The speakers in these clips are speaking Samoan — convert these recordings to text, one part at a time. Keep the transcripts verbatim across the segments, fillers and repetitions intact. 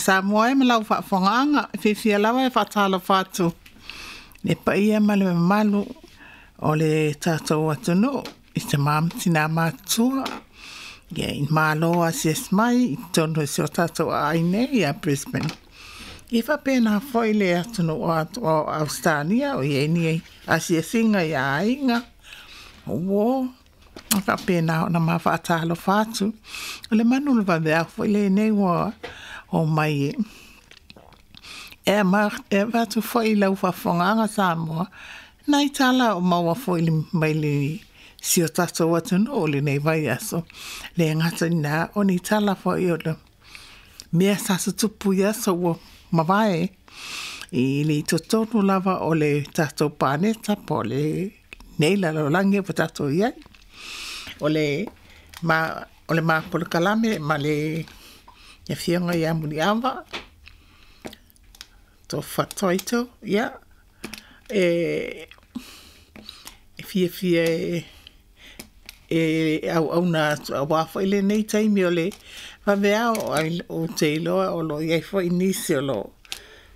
Samoa e ma lau faafofogaaga, e fiafia lava e faatalofa atu le paia ma le mamalu o le tatou atunuu i tamā ma tinā matutua, ia i malo asiasi mai i totonu o si o tatou aai nei ia Brisbane. Ia faapena foi le atunuu o Ausetalia o i ai ni asiasiga i aiga, o uō, faapena ona ma faatalofa atu. O le manu o le vaveao foi lenei ua o mai e e avatu foi i lau faafofogaaga Samoa nai tala o maua foi mai le si o tatou atunuu o lenei vaiaso. Le gata i lena, o ni tala foi o le mea sa tutupu i aso ua mavae i le totonu lava o le tatou paneta po o lenei lalolagi ua tatou i ai. O le ma o le ma polokalame ma le afioga ia Muliava Tofa Toito, ia e e fiafia e e auauna atu auā foi lenei taimi o le vaveao ou te iloa o lo o i ai foi nisi o lo o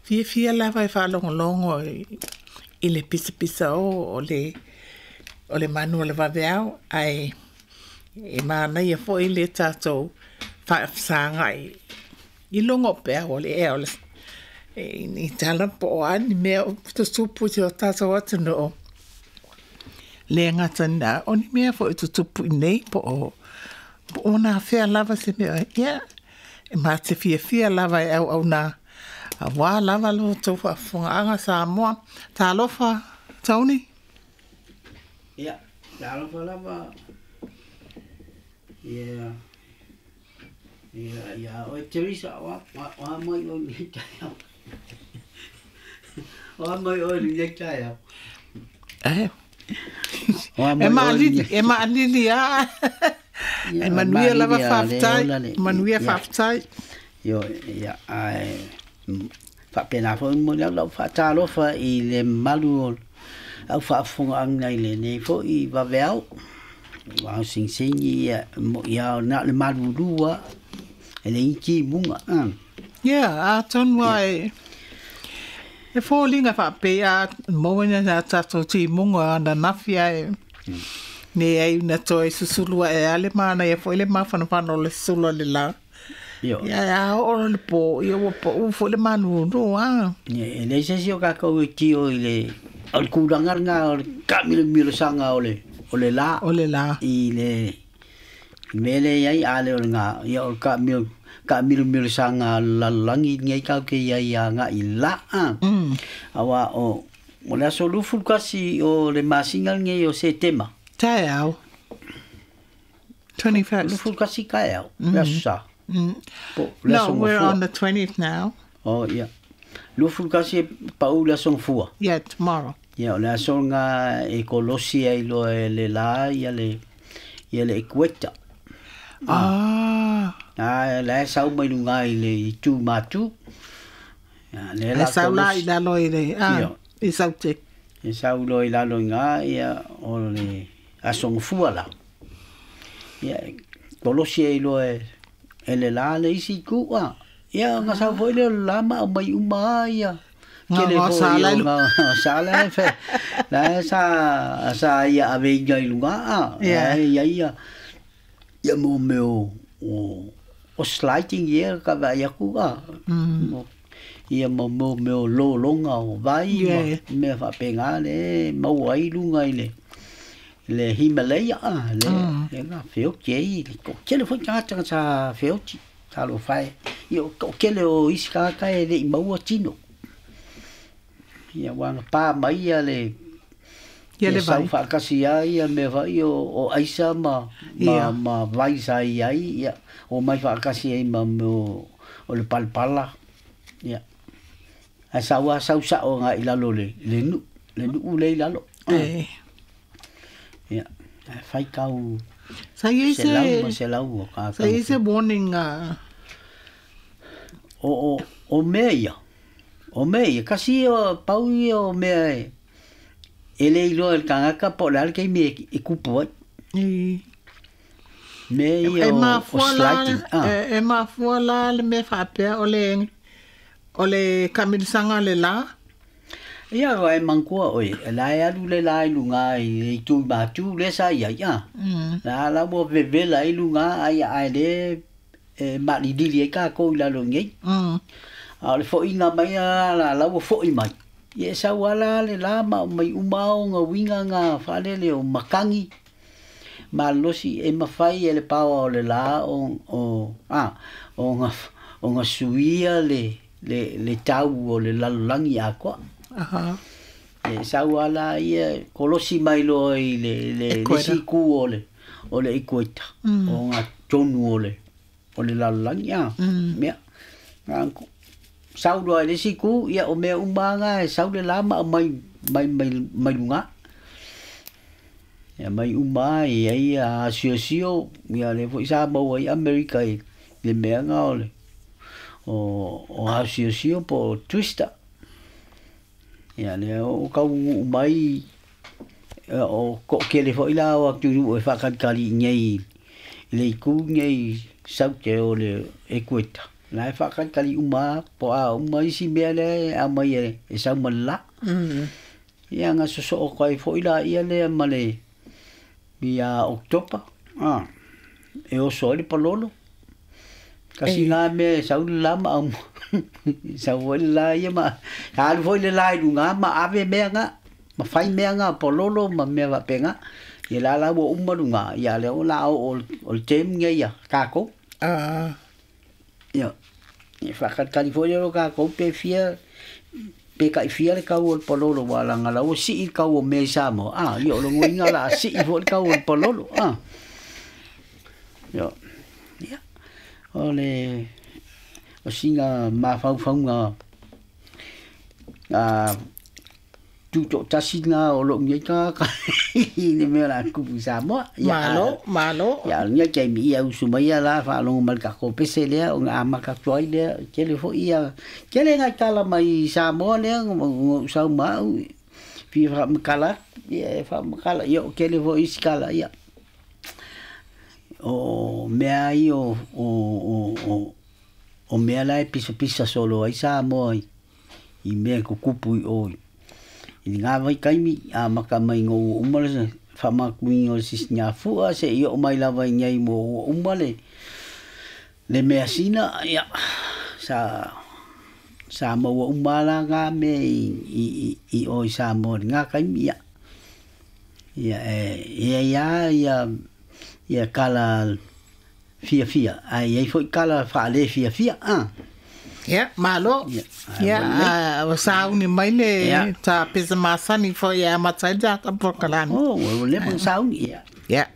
fiafia lava e faalogologo i le pisapisaō o le o le manu o le vaveao, ae e manaia foi le tatou faafesagai i luga o peau o le ea o le i tala po o a ni mea o tutupu i si o tatou atunuu. Le gata i lena, o ni mea foi o tutupu iinei po o po o nafea lava se mea, ia e ma te fiafia lava e auauna auā lava lo outou faafofogaaga Samoa. Talofa, Tony. Ia, talofa lava ia ia ia oe Teresa, o a mai oe i lenei taeao. O a mai oe i lenei taeao. E maalili, e maalili lava. E manuia lava, faafetai. Manuia, faafetai. Ioe, ia, ae faapena foi momoli atu lau faatalofa i le mamalu o au faafofogaaga i lenei foi vaveao. Aua o sigisigi ia ia na o le malulu lava e leai ni timuga. Ia, atonu lava e e foliga faapei a maua ni a tatou timuga ananafi ae leai na toe susulu ae lava le manaia foi le mafanafana o le susulu a le la. Ia a oo le po, ia ua pau foi le malulu a. Ia, e leai se isi o tatou e tio i le o le tulaga lena o le taamilomilosanga o le o le la. O le la. I le mea lea e i ai, a le o lena, ia o le taamilo taamilomilosanga a le lalolagi lenei tatou te i ai agai i le la. Aua o o le aso luasefulu tasi o le masina lenei o Setema. Taeao. twenty-first. Luasefulu tasi taeao, le aso Sa. Po le No, we're on the twentieth now. Oh, ia. Luasefulu tasi e pau le aso Gafua. Yeah, tomorrow. Ia, o le aso lena e kolosi ai loa e le la ia le ia le equator. Ah. A la e sau mai luga i le itu matu. Ia, lea E la sau la i kolosi. lalo i le ah, Ia. i Saute. E sau loa i lalo i ina, ia, o le aso Gafua la. Ia, e kolosi ai loa e e le la le isi itu a. Ia, ona sau foi lea o le la ma aumai uma lava ia. Tele Nga foi sa o lai nga sa la e fe la e sa sa ia aveina i luga a. Yeah. E ia ia ia mo mea o o o sliding ia ka vaai atu a. Mm. Ia mo mo mea o lologa o vai ma Yeah. mea faapena le e maua ai luga i le le Himalaya a le Mm. le na feoti ai le toatele foi tagata sa feoti. Talofa e. Ia o toatele o isi tagata e le i maua tino. Ia ua agapā mai ia le Ia ia le sau vai. faatasi ai ia mea foi o o aisa ma ma Ia. ma vai sa i ai, ia omai faatasi ai ma mea o o le palapala. Ia. Ae sau lava sau sao agai i lalo o le le nuu, le nuu lea i lalo. E. Ia, ae faitau Sa i ai selau ma se selau o sa i ai se tagata. warning uh, O o o mea ia. O mea ia, kasi ia pau ia o mea e e le iloa e le tagata po o le a le taimi e, e kupu ai. I Mea ia e o, o mafua la sliding. Ah. e, e mafua la le mea faapea o le O le kamilisanga le la. Ia wa e mangkua oe, la e alu le la i lunga i tu matu le sa ia ia. La la mo vevela i lunga ai ai le e malilili e ka ko i lalo nei. Mm. A o le foʻiga mai a la la ua foʻi mai. Ia e sau ala le la ma mai uma o ngā winga ngā whalele o makangi. Malosi e mawhai e le pawa o le la o, o, a, o ngā, o ngā suia le, le, le tau o le lalolagi akoa. Aha. E sau ala ia kolosi mai loa i le, le, le Ekuera. siku o le, o le ikueta. Mm. O ngā tonu o le, o le lalolagi a. Mm. Mea. Ngā ku- sau loa i le siku, ia o mea umanga e sau le la ma mai, mai, mai, mai lunga. Ia mai uma i ai a siosio, ia le foi sa maua i Amerika i le mea ngā o le, o, o a siosio po twister. Ia le o kau mai ia, o ko kele foi la o atu e whakalikali nei i le iku nei saute o le ekueta. La e whakalikali uma po a uma isi mea le a mai e, e sau ma le la. Mm. Ia nga soso o kai foi la ia le ma le ia Oktopa. Ah. E oso ai le palolo. Kasi E. ngā mea e sau le la ma au. Sau foi le la ia ma. Alu foi le la i lunga ma ave mea ngā. Ma whai mea ngā palolo ma mea wape ngā. Ia la la ua uma lunga. Ia le o la o, o, o le tem ngā ia kākou. Ah. Ia. Ia whakalikali foi le ro kākou pe fia pe kai fia le kau o le palolo wa la ngala o si i kau o mea i Samoa. Ah, ia o lo ngoinga la si i foi le kau o le palolo. Ah. Ia. Ia. O le o singa mawhauwhaunga a tū tasi ngā o lo ngai ka ka i le mea la kupu Samoa. Ia, Malo, malo. Ia, nia kei mi ia usu mai ia la whaalongo mai ka pese lea o ngā amaka tuai lea. Kele fo ia, kele ngai tala mai Samoa lea, ngo sau mau, fi whamakala, ia e whamakala, ia o kele fo isi kala ia. O mea i o, o, o, o, o mea la e pisa pisa solo ai Samoa i, i mea kukupu i oi. I ngā vai kaimi, a maka mai ngō uma le whamakuinga o le sisi ngā fua, se i o mai lava i ngai mō uma le, le mea sina, ia, sa, sa maua uma la ngā mea i, i, i, i o i Samoa i ngā kaimi, ia. Ia, e, ia, ia, ia, ia kala fia fia, ai, ai foi kala whaale fia fia, ah. Ia, malo. Ia, Ia, ai, ah, o sauni mai le Ia. ta pesa masani fo ia matai ta porokalani. Oh, o le sauni, ia. Ia.